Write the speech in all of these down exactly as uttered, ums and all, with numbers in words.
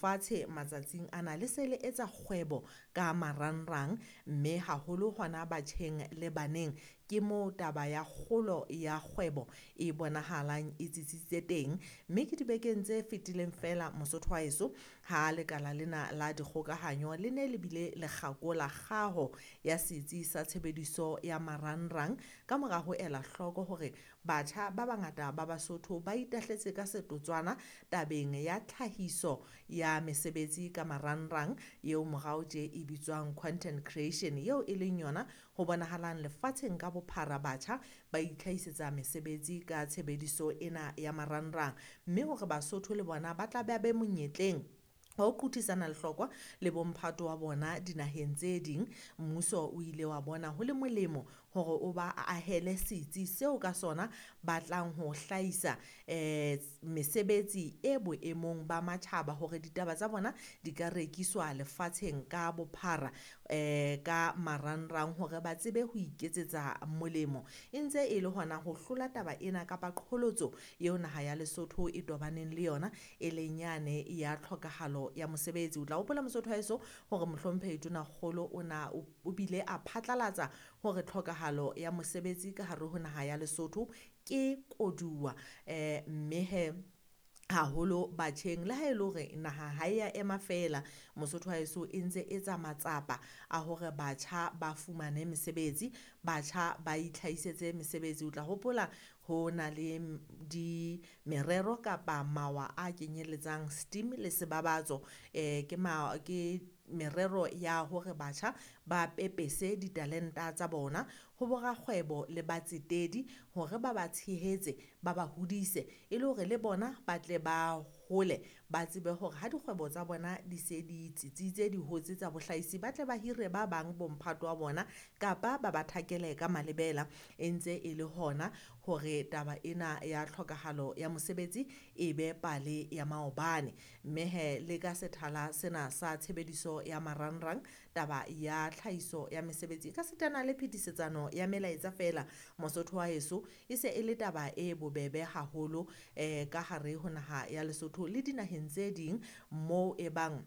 Fatshe matsatsing ana le se le etsa kgwebo ka marangrang, mme haholo hona batjheng le baneng. Ke moo taba ya kgolo ya kgwebo e bonahalang e tsitsitse teng. Mme ke dibekeng tse fetileng feela Mosotho wa heso ha lekala lena la dikgokahanyo le ne le bile le kgakola kgaho ya setsi sa tshebediso ya marangrang. Ka mora ho ela hloko hore batjha ba bangata ba Basotho ba itahletse ka setotswana tabeng ya tlhahiso ya mesebetsi ka marangrang, eo morao tje e bitswang content creation, eo e leng yona ho bonahalang lefatsheng ka bophara batjha ba itlhahisetsa mesebetsi ka tshebediso ena ya marangrang. Mme hore Basotho le bona ba tla ba be monyetleng wa ho qothisana lehlokwa le bo mphato wa bona dinaheng tse ding, mmuso o ile wa bona ho le molemo hore o ba ahele setsi seo ka sona ba tlang ho hlahisa mesebetsi e boemong ba matjhaba hore ditaba tsa bona di ka rekiswa lefatsheng ka bophara ka marangrang hore ba tsebe ho iketsetsa molemo. E ntse e le hona ho hlola taba ena kapa qholotso eo naha ya Lesotho e tobaneng le yona, e leng yane ya tlhokahalo ya mosebetsi. O tla hopola Mosotho wa heso hore Mohlomphehi Tonakgolo o na o bile a phatlalatsa hore tlhokahalo ya mosebetsi ka hare ho naha ya Lesotho ke koduwa, mme hee haholo batjheng. Le ha e le hore naha ha ya ema feela Mosotho wa heso, e ntse etsa matsapa a hore batjha ba fumane mesebetsi, batjha ba itlhahisetse mesebetsi. O tla hopola ho na le di merero kapa mawa a kenyelletsang steam le sebabatso. Ke ke merero ya hore batjha ba pepese ditalenta tsa bona ho bo rakgwebo le batsetedi hore ba ba tshehetse, ba ba hodise e le hore le bona ba tle ba hole, ba tsebe hore ha dikgwebo tsa bona di se di tsitsitse, di hotse tsa bohlaisi, ba tle ba hire ba bang bo mphato wa bona kapa ba ba thakele ka malebela. E ntse e le hona hore taba ena ya tlhokahalo ya mosebetsi e be pale ya maobane. Mme hee le ka sethala sena sa tshebediso ya marangrang, taba ya tlhahiso ya mesebetsi e ka sitana le phetisetsano ya melaetsa feela Mosotho wa heso, e se e le taba e bobebe haholo ka hare ho naha ya Lesotho le dinaheng tse ding moo e bang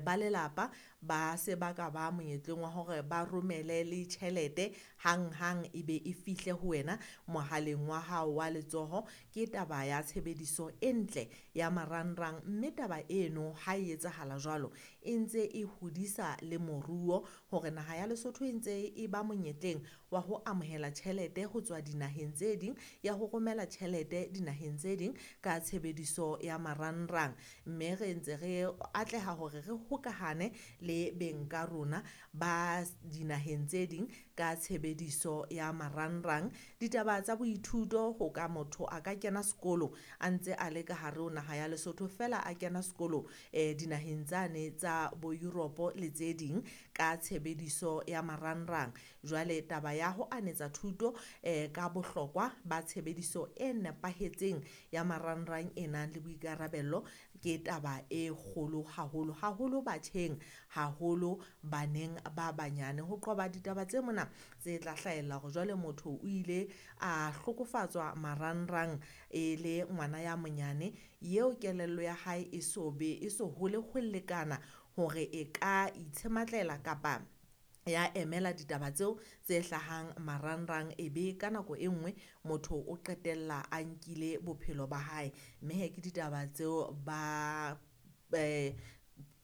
ba lelapa ba se ba ka ba monyetleng wa hore ba romele le tjhelete hanghang e be e fihle ho wena mohaleng wa hao wa letsoho. Ke taba ya tshebediso e ntle ya marangrang, mme taba eno ha e etsahala jwalo e ntse e hodisa le moruo hore naha ya Lesotho e ntse e ba monyetleng wa ho amohela tjhelete ho tswa dinaheng tse ding, ya ho romela tjhelete dinaheng tse ding ka tshebediso ya marangrang. Mme re ntse re atleha hore re hokahane le beng ka rona ba dinaheng tse ding ka tshebediso ya marangrang. Ditaba tsa boithuto, ho ka motho a ka kena sekolo a ntse a le ka hare ho naha ya Lesotho feela a kena sekolo dinaheng tsane tsa bo Europe le tse ding ka tshebediso ya marangrang. Jwale taba ya ho anetsa thuto ka bohlokwa ba tshebediso e nepahetseng ya marangrang e nang le boikarabello ke taba e kgolo haholo, haholo batjheng, haholo baneng ba banyane. Ho qoba ditaba tse mona tse tla hlahella hore jwale motho o ile a hlokofatswa marangrang e le ngwana ya monyane eo kelello ya hae e so be e so hole ho lekana hore e ka itshematlela kapa ya emela ditaba tseo tse hlahang marangrang. E be ka nako e nngwe motho o qetella a nkile bophelo ba hae. Mme hee ke ditaba tseo ba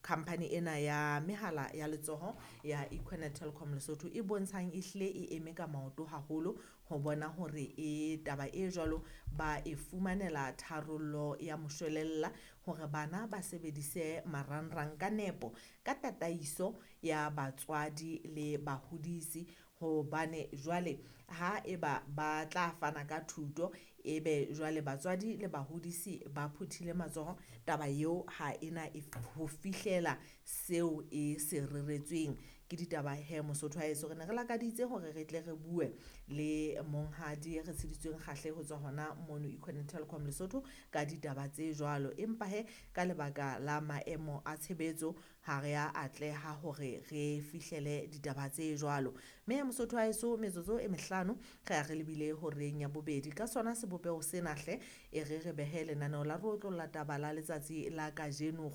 company ena ya mehala ya letsoho ya Equinet Telkom Lesotho e bontshang e hlile e eme ka maoto haholo ho bona hore e taba e jwalo ba e fumanela tharollo ya moshwelella hore bana ba sebedise marangrang ka nepo, ka tataiso ya batswadi le bahodisi. Hobane jwale ha eba ba tla fana ka thuto, ebe jwale batswadi le bahodisi ba phuthile matsoho, taba eo ha ena e ho fihlela seo e se reretsweng. Ke ditaba he Mosotho wa heso, re ne re lakaditse hore re tle re bue le monghadi re tsheditsweng kgahle ho tswa hona mono Econet Telkom Lesotho ka ditaba tse jwalo. Empa he ka lebaka la maemo a tshebetso ha re a atleha hore re fihlele ditaba tse jwalo. Mme Mosotho wa heso, metsotso e mehlano re ya re lebile horeng ya bobedi. Ka sona sebopeho sena hle, e re re behe lenaneo la re otlolla taba la letsatsi la kajeno.